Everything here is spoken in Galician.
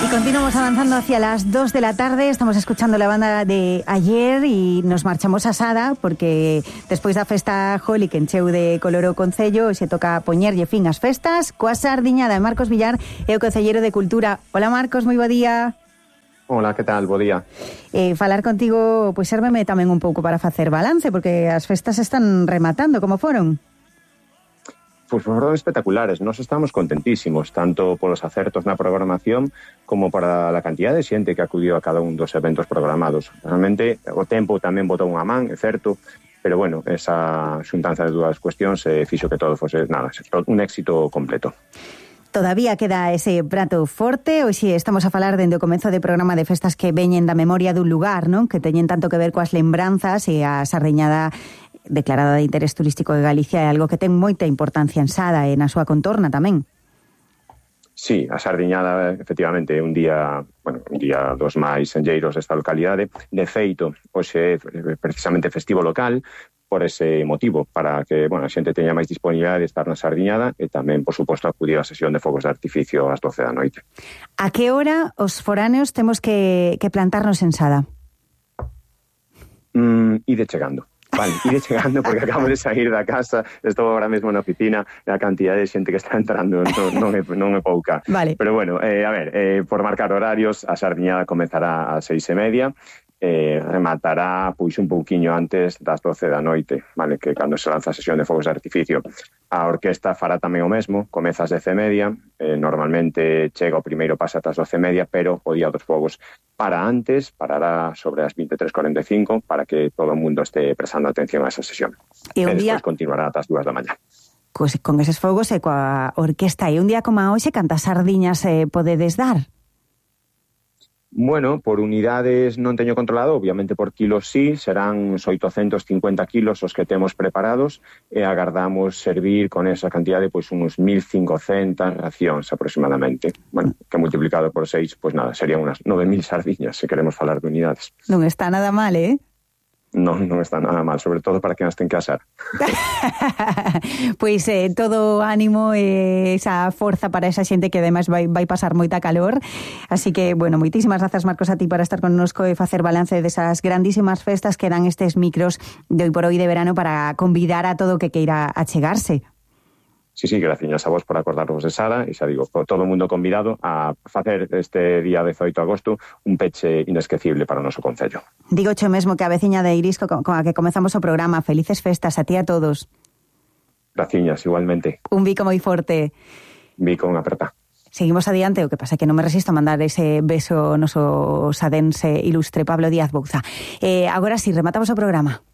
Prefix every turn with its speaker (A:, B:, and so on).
A: Continuamos avanzando hacia las 2 de la tarde, estamos escuchando la banda de ayer y nos marchamos a Sada porque despois da festa Holi que encheu de color o Concello se toca poñerlle fin ás festas coa sardiñada de Marcos Villar e o Concelleiro de Cultura. Hola Marcos, moi bo día.
B: Hola, que tal? Bo día.
A: Falar contigo, pois sérveme tamén un pouco para facer balance porque as festas están rematando, como foron?
B: Pois foron espectaculares, nos estamos contentísimos, tanto polos acertos na programación como para a cantidad de xente que acudiu a cada un dos eventos programados. Realmente, o tempo tamén botou unha man, é certo, pero bueno, esa xuntanza de dúas cuestións fixo que todo fose, un éxito completo.
A: Todavía queda ese prato forte, hoxe estamos a falar dende o comezo de programa de festas que veñen da memoria dun lugar, non? Que teñen tanto que ver coas lembranzas e a sardiñada declarada de interés turístico de Galicia é algo que ten moita importancia en Sada e na súa contorna tamén.
B: Sí, a sardiñada efectivamente é un día dos máis enlleiros desta localidade. De feito, hoxe é precisamente festivo local por ese motivo, para que a xente teña máis disponibilidade de estar na sardiñada e tamén, por suposto, acudir á sesión de fogos de artificio ás 12 da noite.
A: A que hora os foráneos temos que plantarnos en Sada?
B: Ide chegando. Vale, iré chegando porque acabo de sair da casa, estou agora mesmo na oficina e a cantidad de xente que está entrando non é pouca.
A: Vale.
B: Pero bueno, por marcar horarios, a sardiñada comezará ás 6:30, rematará pois un pouquiño antes das 12 da noite, vale, que cando se lanza a sesión de fogos de artificio. A orquesta fará tamén o mesmo, comeza ás 10:30, normalmente chega o primeiro pase ata as 12:30, pero o día dos fogos para antes, parará sobre as 23:45 para que todo o mundo este prestando atención a esa sesión. E despois continuará ata as 2 da mañá.
A: Pues con eses fogos e coa orquesta, e un día como hoxe, cantas sardiñas podedes dar?
B: Bueno, por unidades non teño controlado, obviamente por kilos sí, serán uns 850 kilos os que temos preparados e agardamos servir con esa cantidade pois uns 1.500 racións aproximadamente. Bueno, que multiplicado por 6, pois nada, serían unas 9.000 sardiñas se queremos falar de unidades.
A: Non está nada mal,
B: Non está nada mal, sobre todo para quen as ten que asar.
A: Pois todo ánimo e esa forza para esa xente que ademais vai pasar moita calor. Así que, bueno, moitísimas grazas, Marcos, a ti para estar connosco e facer balance desas grandísimas festas que dan estes micros de hoy por hoy de verano para convidar a todo o que queira achegarse.
B: Sí, graciñas a vos por acordarvos de Sada e xa digo, por todo o mundo convidado a facer este día 18 de agosto un peche inesquecible para o noso concello.
A: Digo xo mesmo que a veciña de Irisco con a que comezamos o programa. Felices festas a ti a todos.
B: Graciñas, igualmente.
A: Un bico moi forte.
B: Bico unha aperta.
A: Seguimos adiante, o que pasa é que non me resisto a mandar ese beso ao noso sadense ilustre Pablo Díaz Bouza. Agora sí, rematamos o programa.